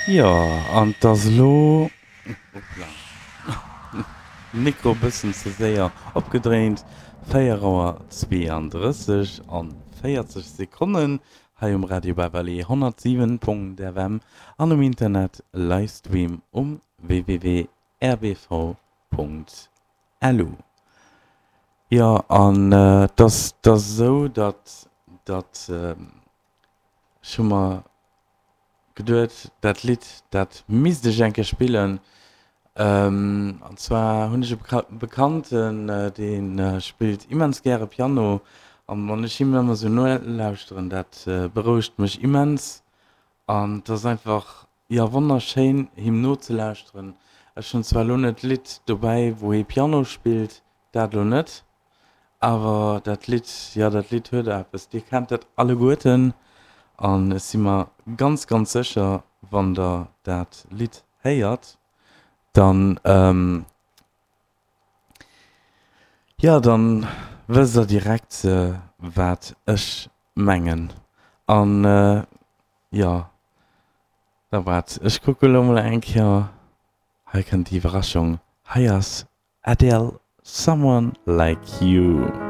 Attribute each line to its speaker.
Speaker 1: Jo, an 't ass elo, hoppla, Mikro bëssen ze séier opgedréint, 4 Auer 32 an 40 Sekonnen hei um Radio Beverly 107.fm an um Internet Livestream um www.rbv.lu. Jo, an 't ass, 't ass esou, datt, datt ech hu mer geduet, dat Lidd, dat misst ech eng Kéier spillen. An zwar hunn ech e Bekannten, dee spillt immens gäre Piano. An wann ech him ëmmer esou nolauschteren, dat berouegt mech immens. An et ass einfach, jo, wonnerschéin, him nozelauschteren. Ech hunn zwar elo net d'Lidd dobäi, wou hie Piano spillt, dat elo net. Awer dat Lidd, jo dat Lidd huet eppes. Dir kennt dat alleguerten an ech si mer ganz, ganz sécher, wann der dat Lidd héiert, dann, jo dann wësst der direkt wat ech mengen. An jo, da waart, ech kucke lo mol eng Kéier, hei kënnt déi Iwwerraschung, hei ass Adele, Someone Like You.